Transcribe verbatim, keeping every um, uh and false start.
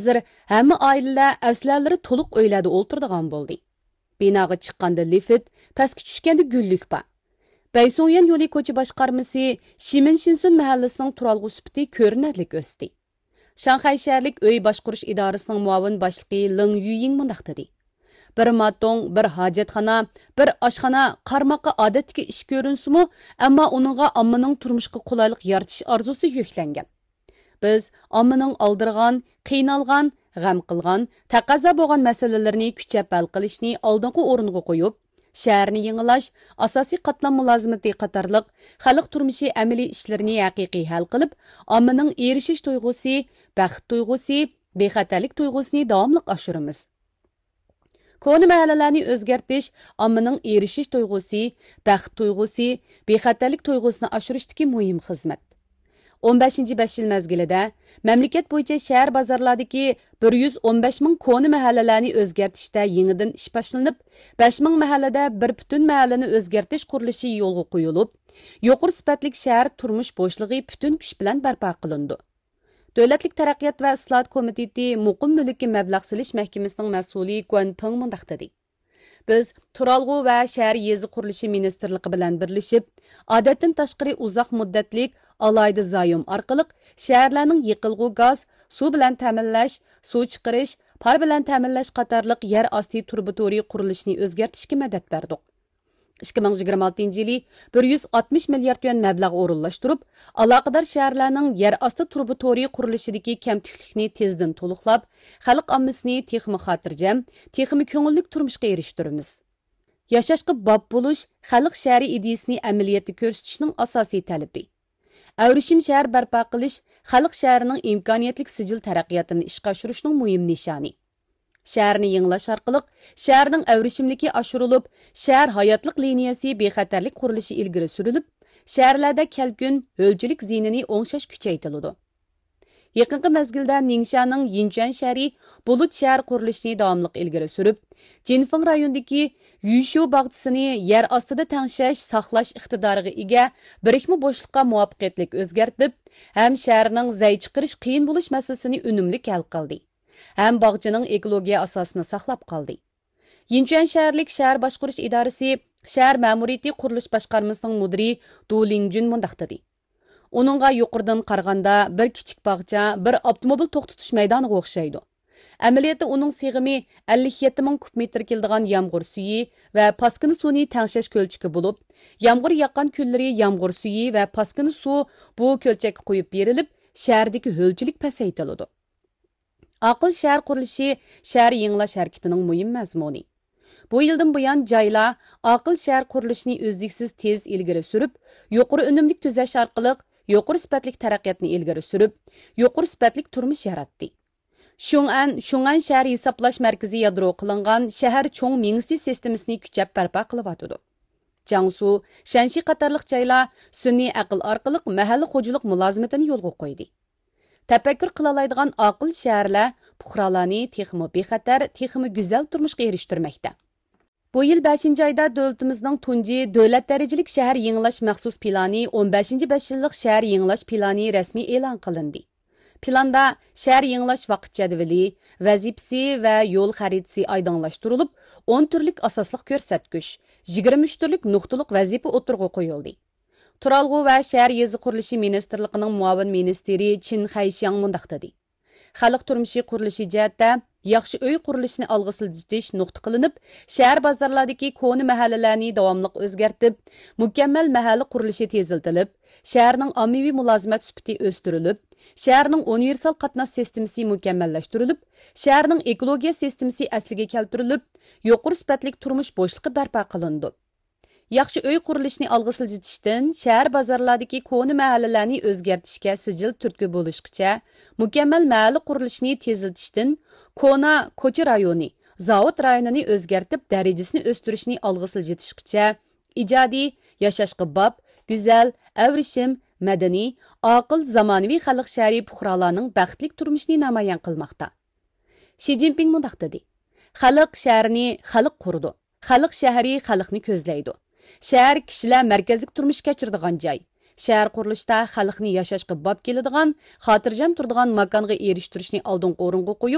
ھازىر ھەممە ئائىلىلەر ئەسلىھەلىرى تولۇق ئۆيلەردە ئولتۇرىدىغان بولدى. بىناغا چىققاندا لىفت، پەسكە چۈشكەندە گۈللۈك بار. بەيسۇڭيەن يولى كوچا باشقارمىسى شىمىن شىنسۇن مەھەللىسىنىڭ تۇرالغۇ سۈپىتى كۆرۈنەرلىك ئۆستى. شاڭخەي شەھەرلىك ئۆي باشقۇرۇش ئىدارىسىنىڭ مۇئاۋىن باشلىقى لېڭ يۈيىڭ مۇنداق دېدى: بىر ماتوڭ، بىر ھاجەتخانا، بىر ئاشخانا قارىماققا ئادەتتىكى ئىش كۆرۈنسىمۇ، ئەمما ئۇنىڭغا ئاممىنىڭ تۇرمۇشقا قولايلىق يارىتىش ئارزۇسى يۈكلەنگەن. بىز ئاممىنىڭ ئالدىرىغان، قىينالغان، غەم قىلغان، تەقەززا بولغان مەسىلىلىرىنى كۈچەپ ھەل قىلىشنى ئالدىنقى ئورۇنغا قويۇپ، شەھەرنى يېڭىلاش، ئاساسىي قاتلام مۇلازىمىتى قاتارلىق خەلق تۇرمۇشى ئەمەلىي ئىشلىرىنى ھەقىقىي ھەل قىلىپ، ئاممىنىڭ ئېرىشىش تۇيغۇسى، بەخت تۇيغۇسى، بىخەتەرلىك تۇيغۇسىنى داۋاملىق ئاشۇرىمىز. كونا مەھەللىلەرنى ئۆزگەرتىش ئاممىنىڭ ئېرىشىش تۇيغۇسى، بەخت تۇيغۇسى، بىخەتەرلىك تۇيغۇسىنى ئاشۇرۇشتىكى مۇھىم خىزمەت. ئون بەشىنچى بەش يىل مەزگىلىدە مەملىكەت بويىچە شەھەر بازارلاردىكى بىر يۈز ئون بەش مىڭ كونا مەھەللىلەرنى ئۆزگەرتىشتە يېڭىدىن ئىش باشلىنىپ، بەش مىڭ مەھەللىدە بىر پۈتۈن مەھەللىنى ئۆزگەرتىش قۇرۇلۇشى يولغا قويۇلۇپ، يۇقىرى سۈپەتلىك شەھەر تۇرمۇش بوشلۇقى پۈتۈن كۈچ بىلەن بەرپا قىلىنىدۇ. دۆلەتلىك تەرەققىيات ۋە ئىسلاھات كومىتېتى مۇقىم مۈلۈككە مەبلەغ سېلىش مەھكىمىسىنىڭ مەسئۇلى گۇەن پېڭ مۇنداق دېدى: بىز تۇرالغۇ ۋە شەھەر يېزا قۇرۇلۇشى مىنىستىرلىقى بىلەن بىرلىشىپ، ئادەتتىن تاشقىرى ئۇزاق مۇددەتلىك ئالاھىدە زايوم ئارقىلىق شەھەرلەرنىڭ يېقىلغۇ گاز، سۇ بىلەن تەمىنلەش، سۇ چىقىرىش، پار بىلەن تەمىنلەش قاتارلىق يەر ئاستى تۇرۇبا تورى قۇرۇلۇشىنى ئۆزگەرتىشكە مەدەت بەردۇق. ئىككى مىڭ يىگىرمە ئالتىنچى يىلى بىر يۈز ئاتمىش مىليارد يۈەن مەبلەغ ئورۇنلاشتۇرۇپ، ئالاقىدار شەھەرلەرنىڭ يەر ئاستى تۇرۇبا تورى قۇرۇلۇشىدىكى كەمتۈكلۈكنى تېزدىن تولۇقلاپ، خەلق ئاممىسىنى تېخىمۇ خاتىرجەم، تېخىمۇ كۆڭۈللۈك تۇرمۇشقا ئېرىشتۈرىمىز. ياشاشقا باب بولۇش خەلق شەھىرى ئىدىيىسىنى ئەمەلىيەتتە كۆرسىتىشنىڭ ئاساسىي تەلىپى. ئەۋرىشىم شەھەر بەرپا قىلىش خەلق شەھىرىنىڭ ئىمكانىيەتلىك سىجىل تەرەققىياتىنى ئىشقا ئاشۇرۇشنىڭ مۇھىم نىشانى. شەھەرنى يېڭىلاش ئارقىلىق شەھەرنىڭ ئەۋرىشىملىكى ئاشۇرۇلۇپ، شەھەر ھاياتلىق لىنىيەسى بىخەتەرلىك قۇرۇلۇشى ئىلگىرى سۈرۈلۈپ، شەھەرلەردە كەلكۈن، ھۆلچىلىك زىيىنىنى ئوڭشاش كۈچەيتىلىدۇ. يېقىنقى مەزگىلدە نىڭشانىڭ يىنچۈەن شەھىرى بۇلۇت شەھەر قۇرۇلۇشىنى داۋاملىق ئىلگىرى سۈرۈپ، جىنفېڭ رايونىدىكى يۈشۈ باغچىسىنى يەر ئاستىدا تەڭشەش، ساقلاش ئىقتىدارىغا ئىگە بىرىكمە بوشلۇققا مۇۋەپپەقىيەتلىك ئۆزگەرتىپ، ھەم شەھەرنىڭ زەي چىقىرىش قىيىن بولۇش مەسىلىسىنى ئۈنۈملۈك ھەل قىلدى. ھەم باغچىنىڭ ئېكولوگىيە ئاساسىنى ساقلاپ قالدى. يىنچۈەن شەھەرلىك شەھەر باشقۇرۇش ئىدارىسى شەھەر مەمۇرىيىتى قۇرۇلۇش باشقارمىسىنىڭ مۇدىرى دۇ لىڭجۈن مۇنداق دېدى: ئۇنىڭغا يۇقىرىدىن قارىغاندا بىر كىچىك باغچە، بىر ئاپتوموبىل توختىتىش مەيدانىغا ئوخشايدۇ. ئەمەلىيەتتە ئۇنىڭ سىغىمى ئەللىك يەتتە مىڭ كۇب مېتىر كېلىدىغان يامغۇر سۈيى ۋە پاسكىنا سۇنى تەڭشەش كۆلچىكى بولۇپ، يامغۇر ياغقان كۈنلىرى يامغۇر سۈيى ۋە پاسكىنا سۇ بۇ كۆلچەككە قۇيۇپ بېرىلىپ، شەھەردىكى ھۆلچىلىك پەسەيتىلىدۇ. ئاقىل شەھەر قۇرۇلۇشى شەھەر يېڭىلاش ھەرىكىتىنىڭ مۇھىم مەزمۇنى. بۇ يىلدىن بۇيان جايلار ئاقىل شەھەر قۇرۇلۇشىنى ئۈزلۈكسىز تېز ئىلگىرى سۈرۈپ، يۇقىرى ئۈنۈملۈك تۈزەش ئارقىلىق يۇقىرى سۈپەتلىك تەرەققىياتنى ئىلگىرى سۈرۈپ، يۇقىرى سۈپەتلىك تۇرمۇش ياراتتى. شۇڭئەن، شۇڭئەن شەھەر ھېسابلاش مەركىزى يادرو قىلىنغان شەھەر چوڭ مېڭىسى سىستېمىسىنى كۈچەپ بەرپا قىلىۋاتىدۇ. جياڭسۇ، شەنشى قاتارلىق جايلار سۈنئىي ئەقىل ئارقىلىق مەھەللە خوجىلىق مۇلازىمىتىنى يولغا قويدى. تەپەككۇر قىلالايدىغان ئاقىل شەھەرلەر پۇقرالارنى تېخىمۇ بىخەتەر، تېخىمۇ گۈزەل تۇرمۇشقا ئېرىشتۈرمەكتە. بۇ يىل بەشىنچى ئايدا دۆلىتىمىزنىڭ تۇنجى دۆلەت دەرىجىلىك شەھەر يېڭىلاش مەخسۇس پىلانى، ئون بەشىنچى بەش يىللىق شەھەر يېڭىلاش پىلانى رەسمىي ئېلان قىلىندى. پىلاندا شەھەر يېڭىلاش ۋاقىت جەدۋىلى، ۋەزىپىسى ۋە يول خەرىتىسى ئايدىڭلاشتۇرۇلۇپ، ئون تۈرلۈك ئاساسلىق كۆرسەتكۈچ، يىگىرمە ئۈچ تۈرلۈك نۇقتىلىق ۋەزىپە ئوتتۇرىغا قويۇلدى. تۇرالغۇ ۋە شەھەر يېزا قۇرۇلۇشى مىنىستىرلىقىنىڭ مۇئاۋىن مىنىستىرى چىن خەيشياڭ مۇنداق دېدى: خەلق تۇرمۇشى قۇرۇلۇشى جەھەتتە ياخشى ئۆي قۇرۇلۇشىنى ئالغا سىلجىتىش نۇقتا قىلىنىپ، شەھەر بازارلاردىكى كونا مەھەللىلەرنى داۋاملىق ئۆزگەرتىپ، مۇكەممەل مەھەللە قۇرۇلۇشى تېزلىتىلىپ، شەھەرنىڭ ئاممىۋى مۇلازىمەت سۈپىتى ئۆستۈرۈلۈپ، شەھەرنىڭ ئۇنىۋېرسال قاتناش سىستېمىسى مۇكەممەللەشتۈرۈلۈپ، شەھەرنىڭ ئېكولوگىيە سىستېمىسى ئەسلىگە كەلتۈرۈلۈپ، يۇقىرى سۈپەتلىك تۇرمۇش بوشلۇقى بەرپا قىلىنىدۇ. ياخشى ئۆي قۇرۇلۇشىنى ئالغا سىلجىتىشتىن، شەھەر بازارلاردىكى كونا مەھەللىلەرنى ئۆزگەرتىشكە سىجىل تۈرتكە بولۇشقىچە، مۇكەممەل مەھەللە قۇرۇلۇشىنى تېزلىتىشتىن، كونا كوچا رايونى، زاۋۇت رايونىنى ئۆزگەرتىپ، دەرىجىسىنى ئۆستۈرۈشنى ئالغا سىلجىتىشقىچە، ئىجادىي، ياشاشقا باب، گۈزەل، ئەۋرىشىم، مەدەنىي، ئاقىل، زامانىۋى خەلق شەھىرى پۇقرالارنىڭ بەختلىك تۇرمۇشىنى نامايان قىلماقتا. شى جىنپىڭ مۇنداق دېدى: خەلق شەھىرىنى خەلق قۇرىدۇ. خەلق شەھىرى خەلقنى كۆزلەيدۇ. شەھەر كىشىلەر مەركەزلىك تۇرمۇش كەچۈرىدىغان جاي. شەھەر قۇرۇلۇشىدا خەلقنى ياشاشقا باب كېلىدىغان، خاتىرجەم تۇرىدىغان ماكانغا ئېرىشتۈرۈشنى ئالدىنقى ئورۇنغا قويۇپ،